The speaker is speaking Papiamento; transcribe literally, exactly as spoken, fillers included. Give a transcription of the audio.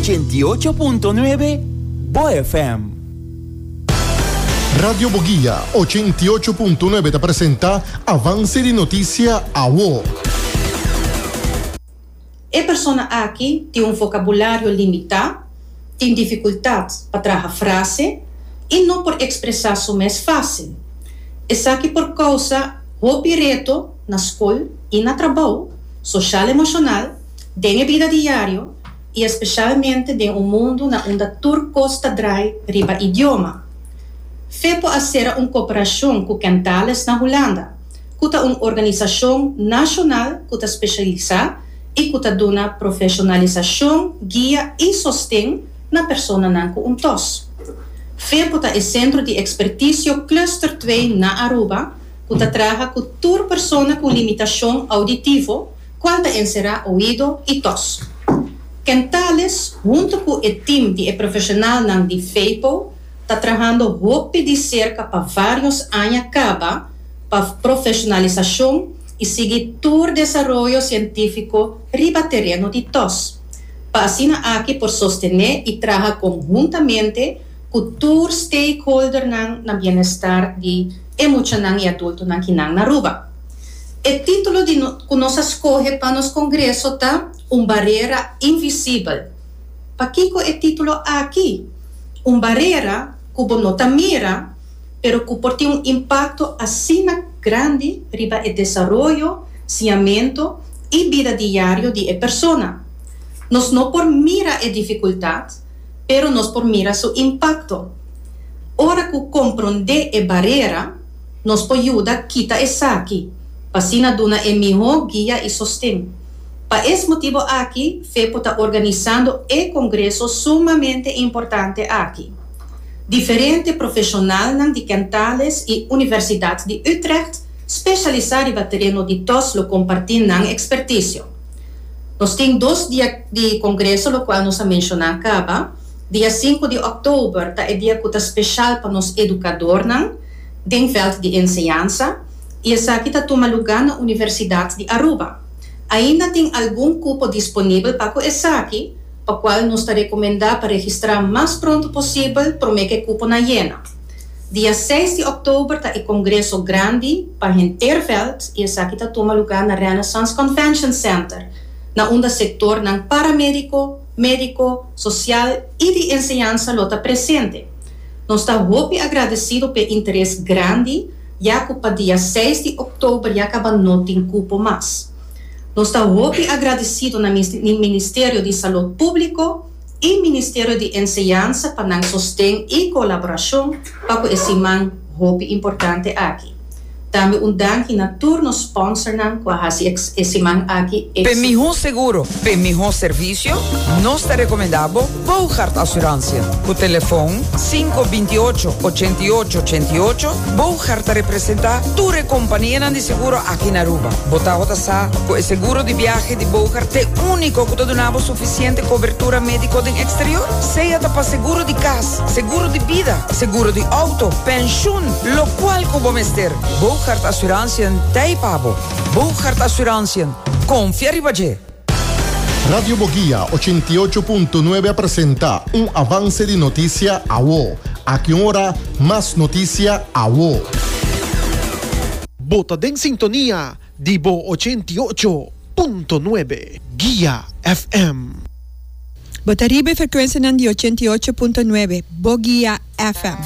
Ochenta i ocho punto nuebe Bo F M. Radio Boguia ochenta i ocho punto nuebe ta presenta Avance di Noticia Awo. E persona aki tin un vocabulario limita, tin dificultad pa traha frase y no por expresa su mes facil. Esaki por causa hopi reto na scol y na trabou, social emocional, den bida diario y especialmente den un mundo na unda tur cos ta draai riba idioma. FEPO a cera un cooperacion cu Kentalis na Hulanda, cu ta un organisacion nacional cu ta specialisa y cu ta duna profesionalisacion, guia y sosten na personanan cu un T O S. FEPO ta e centro di experticio Cluster dos na Aruba, cu ta traha cu tur persona cu limitacion auditivo, cual ta encera oido y T O S. Kentalis, hunto cu e team di profesionalnan di FEPO, ta trahando hopi di cerca pa varios aña caba pa profesionalisacion y sigui tur desaroyo cientifico riba tereno di T O S. Pa asina aki por sostene y traha conhuntamente cu tur stakeholdernan na bienestar di e muchanan y adultonan akinan na Aruba. E titulo di no, cu nos a scoge pa nos congreso ta "Un barera invisibel". Pakico e titulo aki? Un barera cu bo no ta mira, pero cu por tin un impacto asina grandi riba e desaroyo, siñamento y bida diario di e persona. Nos no por mira e dificultad, pero nos por mira su impacto. Ora cu compronde e barera, nos por yuda kita esaki, pa asina duna e miho guia y sosten. Pa e motibo aki, FEPO ta organisando e congreso sumamente importante aki. Diferente profesional di Kentalis y Universidad di Utrecht specialisa riba tereno di T O S lo comparti nan experticio. Nos tin dos dia di congreso, locual nos a menciona caba. Dia sinku di october ta e dia cu ta special pa nos educadornan den veld di enseñansa y esaki ta tuma luga na Universidad di Aruba. Ainda tin algun cupo disponibel pa esaki, pa cual nos ta recomenda pa registra mas pronto posibel pa cu e cuponan yena. Dia seis di october ta e congreso grandi pa henter veld y esaki ta tuma luga na Renaissance Convention Center, na unda sectornan paramedico, medico, social y di enseñansa lo ta presente. Nos ta hopi agradecido pa e interes grandi, ya cu pa dia seis di october ya caba no tin cupo mas. Nos ta hopi agradecido na Ministerio di Salud Publico y Ministerio di Enseñansa pa nan sosten y colaboracion pa e siman hopi importante aki. Tambe un danki na tur nos sponsornan cu a hasi e siman aki. Pa miho seguro, pa miho servicio, nos ta recomenda Bogart Assurantie. Cu telefon sinku binti ocho ochenta i ocho ochenta i ocho, Bogart ta representa tur compania di seguro aki na Aruba. Bo ta sa cu e seguro di biahe di Bogart ta unico cu ta duna suficiente cobertura medico den exterior. Sea ta pa seguro di cas, seguro di bida, seguro di auto, pensioen, locual cu bo mester. Bogart Assurantie t'ey pa bo. Bogart Assurantie. Confia riba dje. Radio Boguia ochenta i ocho punto nuebe presenta un avance di noticia Awo. Aki ora, mas noticia Awo. Bo ta den sintonia di Bo ochenta i ocho punto nuebe Guia F M. Bo ta riba e frecuencia di ochenta i ocho punto nuebe, Boguia F M.